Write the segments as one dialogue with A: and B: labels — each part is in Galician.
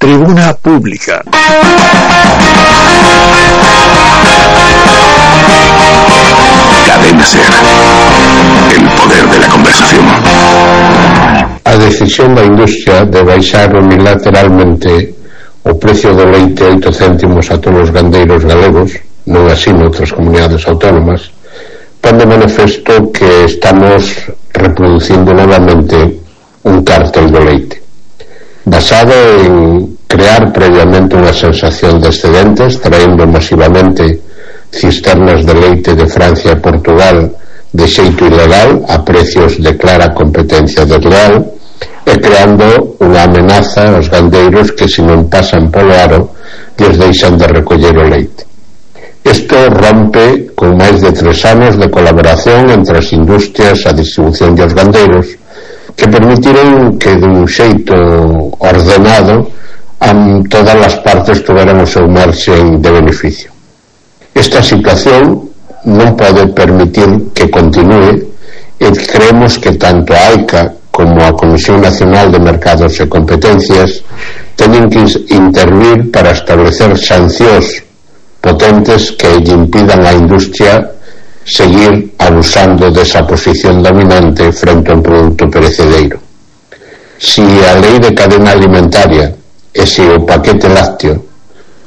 A: Tribuna Pública.
B: Cadena SER. El poder de la conversación.
C: A decisión da industria de baixar unilateralmente o precio do leite 8 céntimos a todos os gandeiros galegos, non así noutras comunidades autónomas, pon de manifesto que estamos reproducindo novamente un cártel do leite, basado en crear previamente unha sensación de excedentes, traendo masivamente cisternas de leite de Francia e Portugal de xeito ilegal a precios de clara competencia desleal, e creando unha amenaza aos gandeiros que se non pasan polo aro lles deixan de recoller o leite. Isto rompe con máis de 3 anos de colaboración entre as industrias, a distribución e os gandeiros, que permitiron que dun xeito ordenado todas as partes tuveran o seu marxen de beneficio. Esta situación non pode permitir que continúe, e creemos que tanto a AICA como a Comisión Nacional de Mercados e Competencias teñen que intervir para establecer sancións potentes que lle impidan á industria seguir abusando desa posición dominante frente a un produto perecedereiro. Si a lei de cadena alimentaria e se o paquete lácteo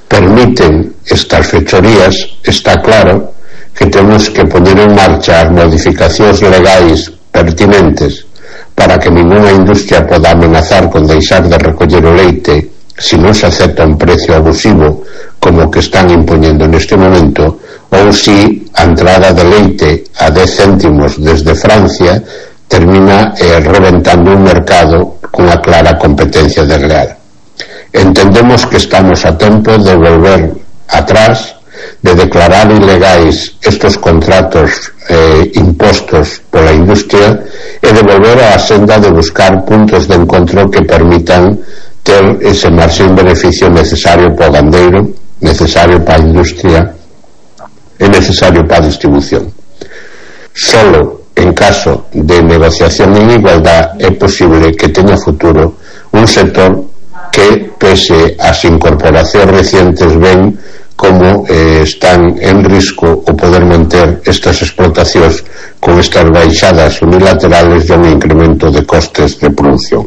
C: permiten estas fechorías, está claro que temos que poner en marcha as modificacións legais pertinentes para que ninguna industria poda amenazar con deixar de recoller o leite se non se acepta un precio abusivo como que están impoñendo neste momento, ou si a entrada de leite a 10 céntimos desde Francia termina reventando un mercado con a clara competencia desleal. Entendemos que estamos a tempo de volver atrás, de declarar ilegais estos contratos impostos pola industria e de volver á senda de buscar puntos de encontro que permitan ter ese marxen beneficio necesario para o gandeiro, necesario para a industria e necesario para a distribución. Solo en caso de negociación en igualdad é posible que teña futuro un sector que, pese ás incorporacións recientes, ven como están en risco o poder manter estas explotacións con estas baixadas unilaterales e un incremento de costes de produción.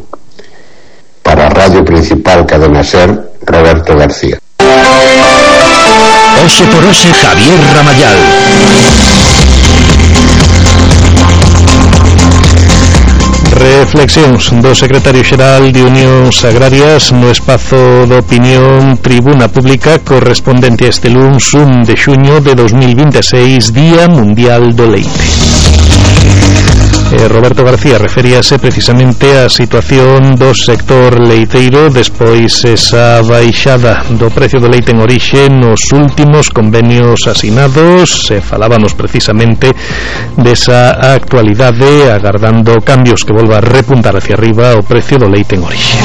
C: Para a Radio Principal Cadena SER, Roberto García.
D: Hoxe por hoxe, Javier Ramayal. Reflexións do secretario xeral de Unións Agrarias no espazo de opinión Tribuna Pública correspondente a este luns 1 de xuño de 2026, Día Mundial do Leite. Roberto García referíase precisamente á situación do sector leiteiro despois esa baixada do precio do leite en orixe nos últimos convenios asinados. Falábamos precisamente desa actualidade, agardando cambios que volva a repuntar hacia arriba o precio do leite en orixe.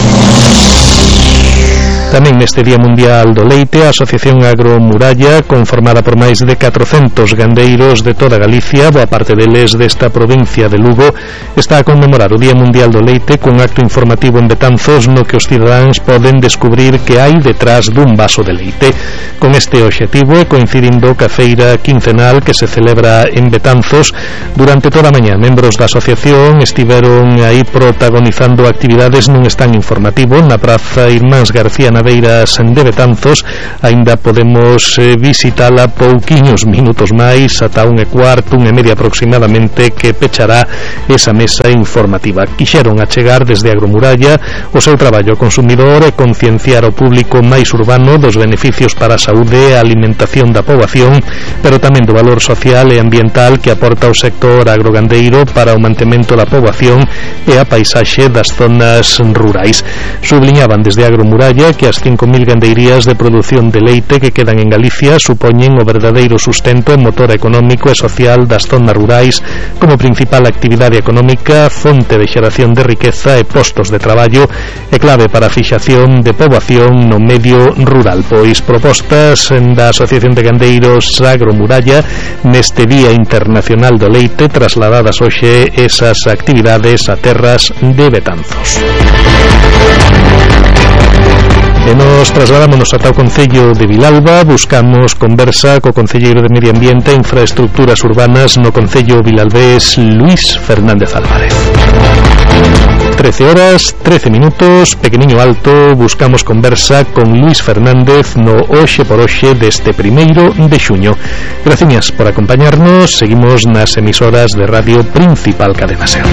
D: Tamén neste Día Mundial do Leite, a Asociación Agromuralla, conformada por máis de 400 gandeiros de toda Galicia, boa parte deles desta provincia de Lugo, está a conmemorar o Día Mundial do Leite cun acto informativo en Betanzos no que os cidadáns poden descubrir que hai detrás dun vaso de leite. Con este obxectivo e coincidindo ca feira quincenal que se celebra en Betanzos, durante toda a mañá membros da asociación estiveron aí protagonizando actividades nun stand informativo na Praza Irmáns García Naveiras de Betanzos. Aínda podemos visitala pouquiños minutos máis, ata 1:15, 1:30 aproximadamente, que pechará esa mesa informativa. Quixeron achegar desde Agromuralla o seu traballo ao consumidor e concienciar ao público máis urbano dos beneficios para a saúde e a alimentación da poboación, pero tamén do valor social e ambiental que aporta o sector agrogandeiro para o mantemento da poboación e a paisaxe das zonas rurais. Subliñaban desde Agromuralla que as 5.000 gandeirías de produción de leite que quedan en Galicia supoñen o verdadeiro sustento e motor económico e social das zonas rurais, como principal actividade económica, fonte de xeración de riqueza e postos de traballo e clave para a fixación de poboación no medio rural. Pois propostas da Asociación de Gandeiros Agromuralla neste Día Internacional do Leite, trasladadas hoxe esas actividades a terras de Betanzos. En Nos trasladámonos ata o Concello de Vilalba, buscamos conversa co concelleiro de Medio Ambiente e Infraestructuras Urbanas no Concello vilalbés, Luís Fernández Álvarez. 13 horas, 13 minutos, pequeniño alto, buscamos conversa con Luís Fernández no Hoxe por Hoxe deste 1º de xuño. Gracias por acompañarnos, seguimos nas emisoras de Radio Principal Cadena SER.